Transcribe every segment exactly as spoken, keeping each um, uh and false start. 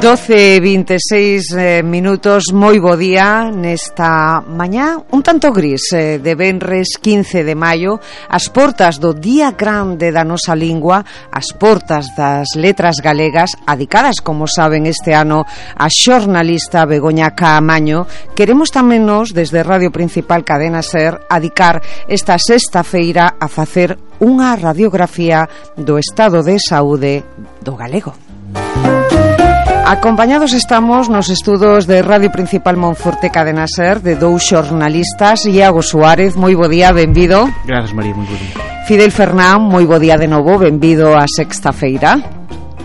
doce e vinte e seis eh, minutos, moi bo día nesta mañá un tanto gris eh, de venres quince de maio, as portas do Día Grande da nosa lingua, as portas das letras galegas, adicadas, como saben, este ano a xornalista Begoña Caamaño. Queremos tamén nos, desde Radio Principal Cadena Ser, adicar esta sexta feira a facer unha radiografía do estado de saúde do galego. Acompañados estamos nos estudos de Radio Principal Monforte Cadena Ser de dous xornalistas. Iago Suárez, moi bo día, benvido. Grazas, María, moi bo día. Fidel Fernán, moi bo día de novo, benvido a sexta feira.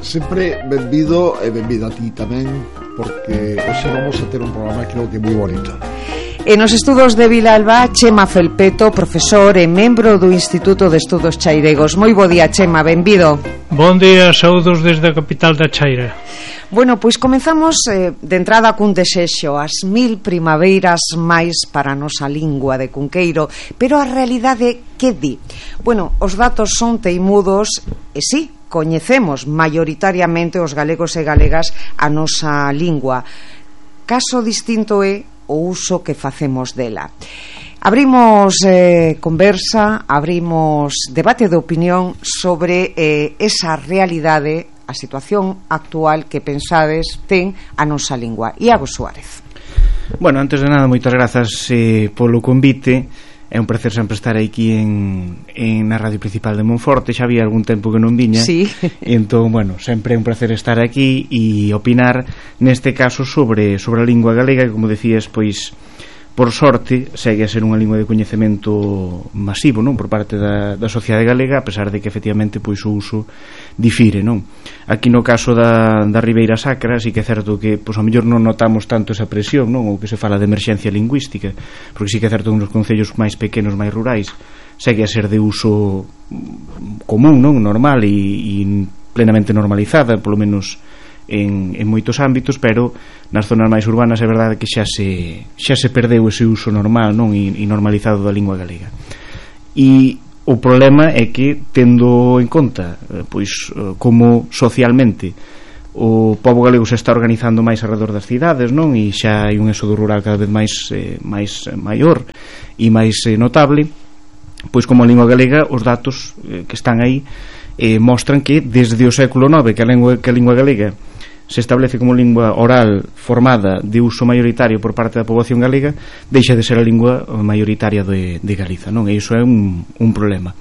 Sempre benvido e benvido a ti tamén, porque hoxe vamos a ter un programa que creo que é moi bonito. E nos estudos de Vilalba, Chema Felpeto, profesor e membro do Instituto de Estudos Chairegos. Moi bo día, Chema, benvido. Bon día, saúdos desde a capital da Chaira. Bueno, pois comenzamos eh, de entrada cun desexo, as mil primaveiras máis para a nosa lingua de Cunqueiro, pero a realidade que di? Bueno, os datos son teimudos e sí, coñecemos maioritariamente os galegos e galegas a nosa lingua. Caso distinto é o uso que facemos dela. Abrimos eh, conversa, abrimos debate de opinión sobre eh, esa realidade, a situación actual que pensades ten a nosa lingua. Iago Suárez. Bueno, antes de nada, moitas grazas eh, polo convite. É un placer sempre estar aquí en, en na Radio Principal de Monforte. Xa había algún tempo que non viña, sí. E entón, bueno, sempre é un placer estar aquí e opinar neste caso sobre, sobre a lingua galega, que, como decías, pois por sorte segue a ser unha lingua de coñecemento masivo, non, por parte da, da sociedade galega, a pesar de que efectivamente pois o uso difire, non. Aquí no caso da, da Ribeira Sacra sí que é certo que pois ao mellor non notamos tanto esa presión, non, ou que se fala de emerxencia lingüística, porque sí que é certo que nos concellos máis pequenos, máis rurais, segue a ser de uso común, non, normal e, e plenamente normalizada, polo menos En, en moitos ámbitos, pero nas zonas máis urbanas é verdade que xa se xa se perdeu ese uso normal, non, e, e normalizado da lingua galega. E o problema é que, tendo en conta pois como socialmente o pobo galego se está organizando máis alrededor das cidades, non, e xa hai un éxodo rural cada vez máis eh, máis maior e máis eh, notable, pois como a lingua galega, os datos eh, que están aí eh, mostran que desde o século nove que a lingua, que a lingua galega se establece como lingua oral formada de uso maioritario por parte da poboación galega, deixa de ser a lingua maioritaria de, de Galiza, non? E iso é un, un problema.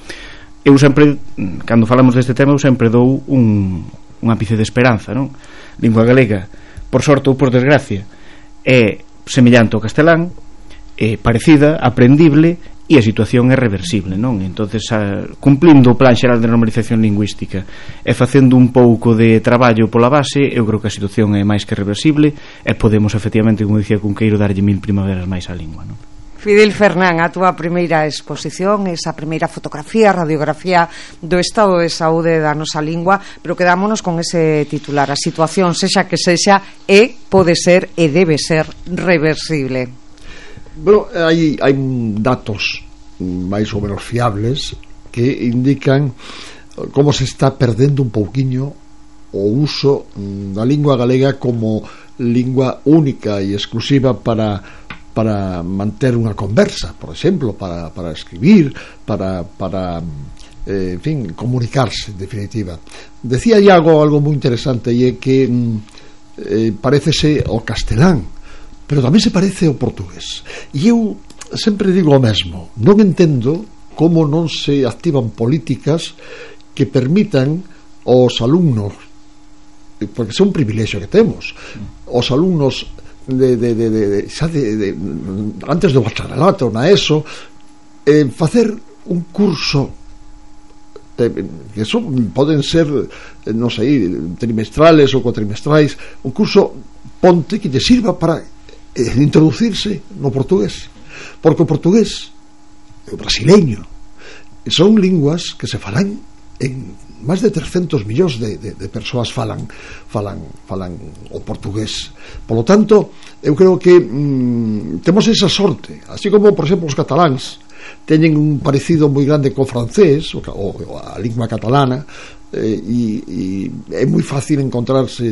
Eu sempre, cando falamos deste tema, eu sempre dou un, un ápice de esperanza, non? Lingua galega, por sorte ou por desgracia, é semellante ao castelán, é parecida, aprendible, e a situación é reversible, non? Entonces, a, cumplindo o plan xeral de normalización lingüística e facendo un pouco de traballo pola base, eu creo que a situación é máis que reversible e podemos, efectivamente, como dicía Cunqueiro, darlle mil primaveras máis á lingua, non? Fidel Fernán, a túa primeira exposición, esa primeira fotografía, radiografía do estado de saúde da nosa lingua, pero quedámonos con ese titular: a situación, sexa que sexa, é, pode ser e debe ser reversible. Bueno, hai, hai datos máis ou menos fiables que indican como se está perdendo un pouquiño o uso da lingua galega como lingua única e exclusiva para, para manter unha conversa, por exemplo, para, para escribir, para, para eh, en fin, comunicarse, en definitiva. Decía Iago algo moi interesante, e é que eh, parecese o castelán, pero tamén se parece ao portugués. E eu sempre digo o mesmo: non entendo como non se activan políticas que permitan aos alumnos, porque é un privilexio que temos, os alumnos de, de, de, de, xa de, de, antes do bacharelato, na ESO, eh, facer un curso eh, que son, poden ser, non sei, trimestrales ou cuatrimestrais, un curso ponte que lle sirva para introducirse no portugués, porque o portugués e o brasileño son linguas que se falan en máis de trescentos millóns de, de, de persoas falan, falan, falan o portugués. Por lo tanto, eu creo que mm, temos esa sorte, así como, por exemplo, os cataláns teñen un parecido moi grande co francés, o, o a lingua catalana, eh, e, e é moi fácil encontrarse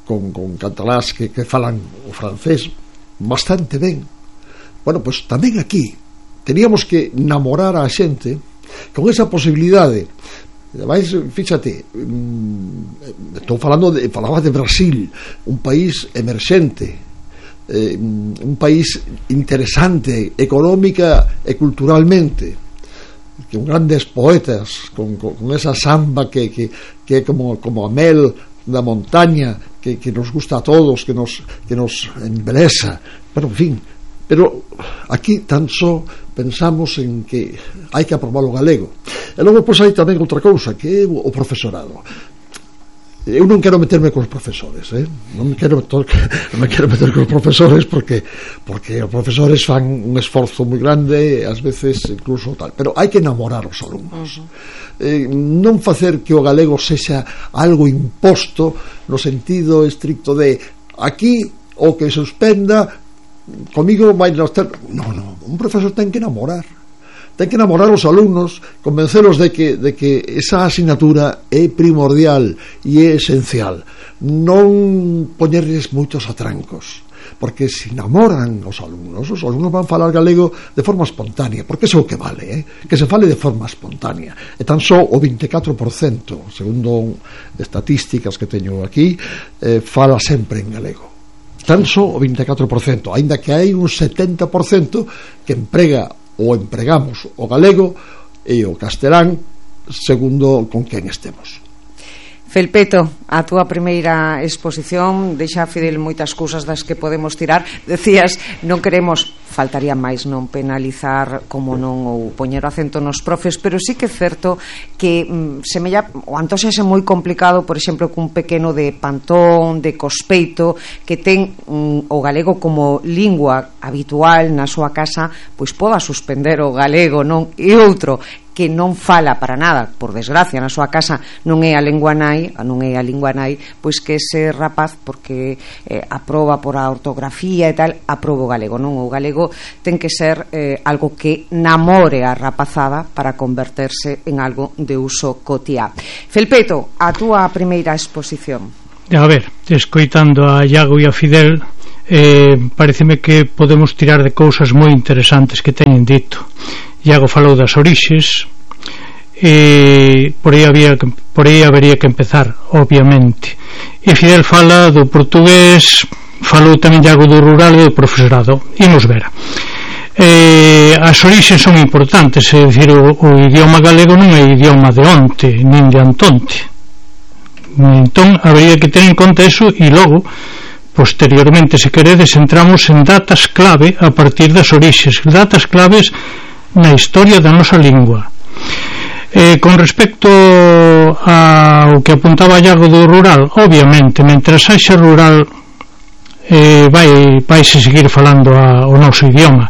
con, con catalás que, que falan o francés bastante ben. Bueno, pois tamén aquí teníamos que namorar a xente con esa posibilidade. Ademais, fíxate, estou falando de, falaba de Brasil, un país emerxente, eh, un país interesante económica e culturalmente, con grandes poetas, con, con, con esa samba que, que, que é como, como a mel da montaña, que, que nos gusta a todos, que nos, que nos embeleza. Bueno, en fin, pero aquí tan só pensamos en que hai que aprobar o galego. E logo, pois, hai tamén outra cousa, que é o profesorado. Eu non quero meterme cos profesores, eh? non me quero meter, non me quero meter cos profesores porque porque os profesores fan un esforzo moi grande, ás veces incluso tal, pero hai que enamorar os alumnos. Uh-huh. Eh, non facer que o galego sexa algo imposto no sentido estricto de aquí o que suspenda comigo vai nos ter... No, no, un profesor ten que enamorar. Ten que enamorar os alumnos, convencelos de que, de que esa asignatura é primordial e é esencial. Non poñerles moitos atrancos, porque se enamoran os alumnos, os alumnos van falar galego de forma espontánea, porque iso é o que vale, eh? Que se fale de forma espontánea. E tan só o vinte e catro por cento, segundo estatísticas que teño aquí, eh, fala sempre en galego. Tan só o vinte e catro por cento, aínda que hai un setenta por cento que emprega ou empregamos o galego e o castelán segundo con quen estemos. Felpeto, a túa primeira exposición deixa a Fidel moitas cousas das que podemos tirar. Decías, non queremos, faltaría máis, non penalizar como non ou poñer o acento nos profes, pero sí que é certo que mm, semella, o antoxase moi complicado, por exemplo, cun pequeno de Pantón, de Cospeito, que ten mm, o galego como lingua habitual na súa casa, pois poda suspender o galego, non? E outro que non fala para nada, por desgracia, na súa casa non é a lingua nai, non é a lingua nai, pois que ese rapaz, porque eh, aproba por a ortografía e tal, aproba o galego, non? O galego ten que ser eh, algo que namore a rapazada para converterse en algo de uso cotiá. Felpeto, a túa primeira exposición. A ver, escoitando a Iago e a Fidel, eh, pareceme que podemos tirar de cousas moi interesantes que teñen dito. Iago falou das orixes, e por aí, había, por aí habería que empezar, obviamente. E Fidel fala do portugués, falou tamén Iago do rural e do profesorado. Imos ver. Eh, as orixes son importantes, é dicir, o, o idioma galego non é idioma de onte, nin de antonte. Entón, habería que ter en conta eso e logo, posteriormente, se queredes, entramos en datas clave a partir das orixes, datas claves na historia da nosa lingua. Eh, con respecto ao que apuntaba Iago do rural, obviamente, mentras haxa rural, eh, vai vaise seguir falando a, o noso idioma,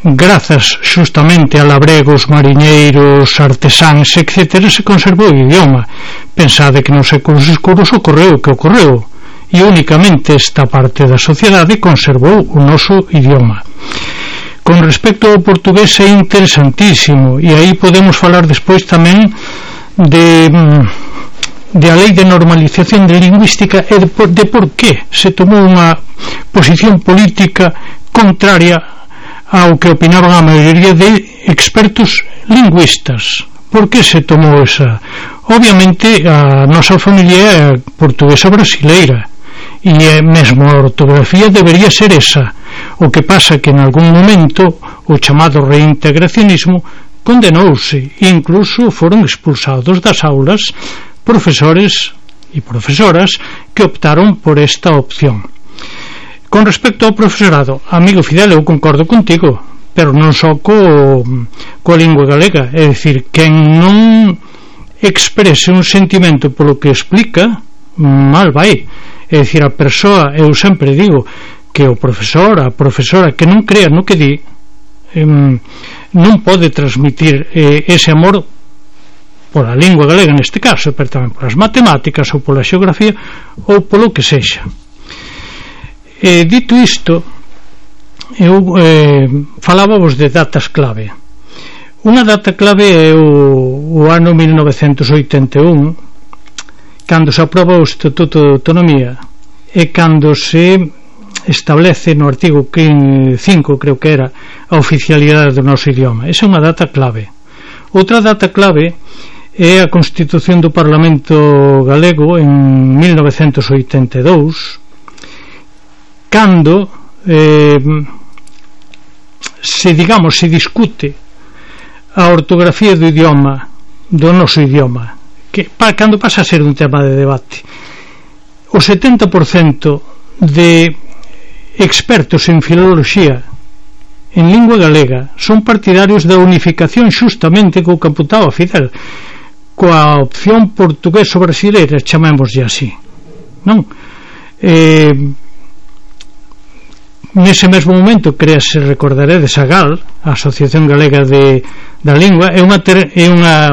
grazas xustamente a labregos, mariñeiros, artesáns, etcétera, se conservou o idioma. Pensade que nos séculos escuros ocorreu o que ocorreu, e únicamente esta parte da sociedade conservou o noso idioma. Con respecto ao portugués é interesantísimo, e aí podemos falar despois tamén de, de a lei de normalización de lingüística e de por, de por que se tomou unha posición política contraria ao que opinaban a maioría de expertos lingüistas. Por que se tomou esa? Obviamente a nosa familia é portuguesa brasileira, e mesmo a ortografía debería ser esa. O que pasa que en algún momento o chamado reintegracionismo condenouse e incluso foron expulsados das aulas profesores e profesoras que optaron por esta opción. Con respecto ao profesorado, amigo Fidel, eu concordo contigo, pero non só co, coa lingua galega, é dicir, quen non exprese un sentimento polo que explica, mal vai. É dicir, a persoa, eu sempre digo que o profesor, a profesora que non crea no que di, eh, non pode transmitir eh, ese amor pola lingua galega neste caso, pero tamén polas matemáticas ou pola xeografía ou polo que sexa. Eh, dito isto, eu eh, falábamos de datas clave. Unha data clave é o, o ano mil novecentos oitenta e un, cando se aproba o Estatuto de Autonomía, é cando se establece no artigo cinco, creo que era, a oficialidade do noso idioma. Esa é unha data clave. Outra data clave é a Constitución do Parlamento Galego en mil novecentos oitenta e dous, cando eh, se, digamos, se discute a ortografía do idioma, do noso idioma, que pa, cando pasa a ser un tema de debate. O setenta por cento de expertos en filoloxía en lingua galega son partidarios da unificación xustamente co que apuntaba Fidel, coa opción portugueso-brasileira, chamémoslle así, non? Eh, nese mesmo momento créase, recordaredes, a GAL, a Asociación Galega de, da Lingua, é unha, ter, é unha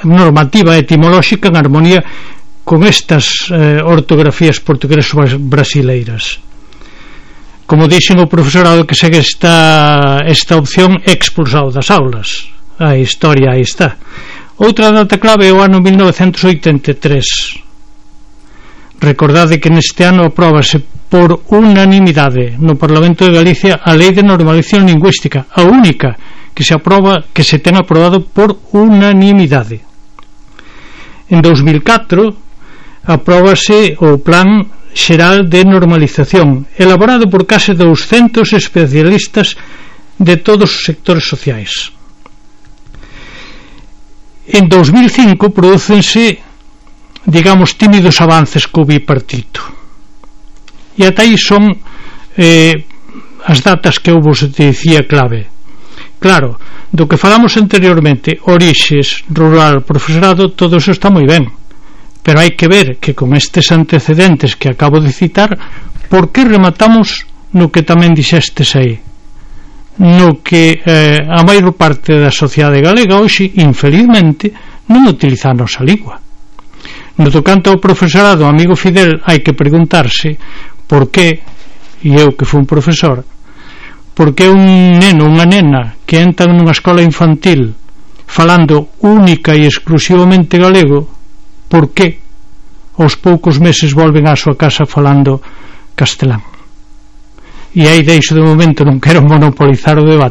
normativa etimolóxica en armonía con estas eh, ortografías portuguesas brasileiras. Como dixen, o profesorado que segue esta, esta opción é expulsado das aulas. A historia aí está. Outra data clave é o ano mil novecentos oitenta e tres. Recordade que neste ano apróbase por unanimidade no Parlamento de Galicia a Lei de Normalización Lingüística, a única que se aproba, que se ten aprobado por unanimidade. En dous mil catro apróbase o Plan Xeral de Normalización, elaborado por case douscentos especialistas de todos os sectores sociais. En dous mil cinco prodúcense, digamos, tímidos avances co bipartito, e ata aí son eh, as datas que eu vos dicía clave. Claro, do que falamos anteriormente, orixes, rural, profesorado, todo eso está moi ben, pero hai que ver que con estes antecedentes que acabo de citar, por que rematamos no que tamén dixestes aí, no que eh, a maior parte da sociedade galega hoxe, infelizmente, non utiliza a nosa lingua. No tocante ao profesorado, amigo Fidel, hai que preguntarse por que, e eu que fui un profesor, por que un neno, unha nena que entra nunha escola infantil falando única e exclusivamente galego, por que aos poucos meses volven á súa casa falando castelán? E aí deixo de momento, non quero monopolizar o debate.